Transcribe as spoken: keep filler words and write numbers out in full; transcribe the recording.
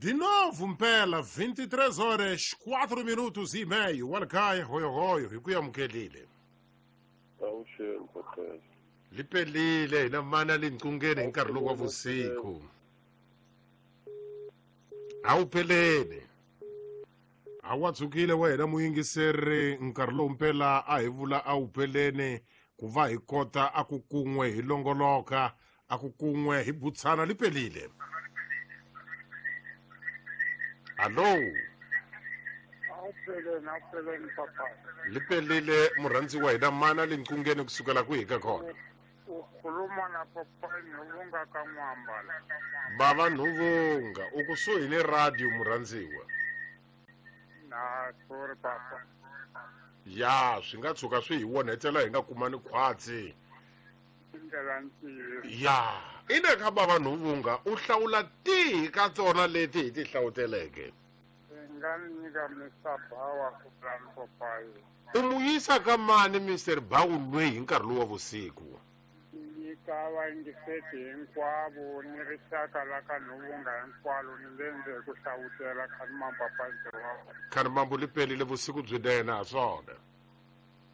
De novo mpela vinte e três horas quatro minutos e meio. Walakaya hoyo hoyo hi ku amukelile. Awuxeni Poteza. Lipelile hina mana linqungeni hi nkarhi lowu wa vusiku. Awupheleni. Awatsukile wena muyingiseri nkarhi lowu mpela a hi vula awupheleni ku va hi kota a ku kun'we hi longoloka a ku kun'we hi butsana lipelile. Allo. Awupheleni awupheleni papa. Lipelile murhandziwa hina mana linqungeni kusukela kwihi ka kona. Ukhuluma na papa Nhuvunga ka N'wambala. Bava Nhuvunga u kusuhi ni radio murhandziwa. Na sorry papa. Ya swi nga tshuka swi hi onhetela hi nga kumani khwatsi. Ya ina ka bava Nhuvunga u hlawula tihi ka tona leti hi ti hlawuteleke? Nga nyika Mister Bawa ku plan papayi. U mu yisa ka mani Mister Bawu lweyi hi nkarhi lowu wa vusiku? Nyika vayingiseti hinkwavo ni rixaka la ka Nhuvunga hinkwalo ni le ndzhe ku hlawutela Khanimambo papa ntirho wa wena. Khanimambo lipelile vusiku byinene ha swona.